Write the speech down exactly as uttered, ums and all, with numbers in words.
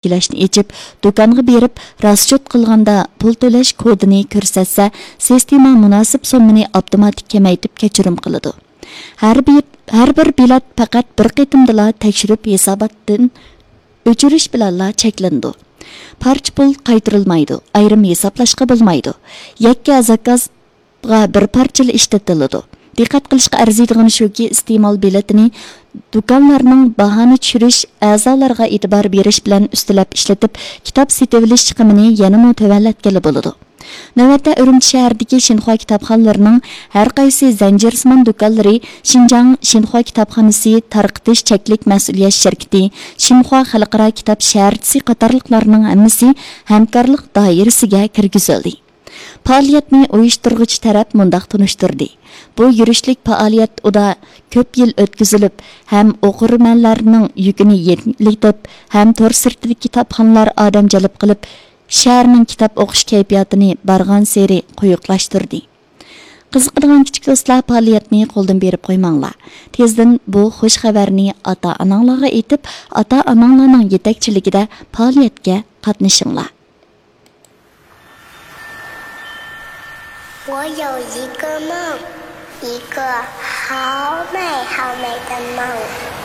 بەلگىلەشنى ئېچىپ، دۇكانغا بېرىپ راسچوت قىلغاندا پۇل تۆلەش كودىنى كۆرسەتسە، سىستېما مۇناسىپ سوممىنى ئاپتوماتىك كېمەيتىپ كەچۈرۈم قىلىدۇ. ھەر بىر، ھەر بىر بېلەت پەقەت بىر قېتىمدىلا تەكشۈرۈپ ھېساباتتىن ئۆچۈرۈش بىلەنلا چەكلىنىدۇ. پارچە پۇل قايتۇرۇلمايدۇ، ئايرىم ھېسابلاشقا بولمايدۇ. يەككە زاكاز بىر پارچىلا ئىشلىتىلىدۇ. دىققەت قىلىشقا ئەرزىيدىغىنى شۇكى، ئىستېمال بېلىتىنى دۇكانلارنىڭ باھانى چۈشۈرۈش، ئەزالارغا ئېتىبار بېرىش بىلەن ئۈستىلەپ ئىشلىتىپ، كىتاب سېتىۋېلىش چىقىمىنى يەنىمۇ تۆۋەنلەتكىلى بولىدۇ. نۆۋەتتە ئۈرۈمچى شەھىرىدىكى شىنخۇا كىتابخانىلىرىنىڭ ھەر قايسى زەنجىرسىمان دۇكانلىرى شىنجاڭ شىنخۇا كىتابخانىسى تارقىتىش چەكلىك مەسئۇلىيەت شىركىتى، شىنخۇا خەلقئارا كىتاب شەھەرچىسى قاتارلىقلارنىڭ ھەممىسى ھەمكارلىق دائىرىسىگە كىرگۈزۈلدى. پائالىيەتنى ئۇيۇشتۇرغۇچى تەرەپ مۇنداق تونۇشتۇردى: بۇ يۈرۈشلۈك پائالىيەت ئۇدا كۆپ يىل ئۆتكۈزۈلۈپ، ھەم ئوقۇرمەنلەرنىڭ يۈكىنى يېنىكلىتىپ، ھەم تور سىرتىدىكى كىتابخانىلار ئادەم جەلپ قىلىپ، شەھەرنىڭ كىتاب ئوقۇش كەيپىياتىنى بارغانسېرى قويۇقلاشتۇردى. قىزىقىدىغان كىچىك دوستلار، پائالىيەتنى قولدىن بېرىپ قويماڭلار. تېزدىن بۇ خۇش خەۋەرنى ئاتا-ئاناڭلارغا ئېيتىپ، ئاتا-ئاناڭلارنىڭ يېتەكچىلىكىدە پائالىيەتكە قاتنىشىڭلار. 我有一个梦，一个好美好美的梦。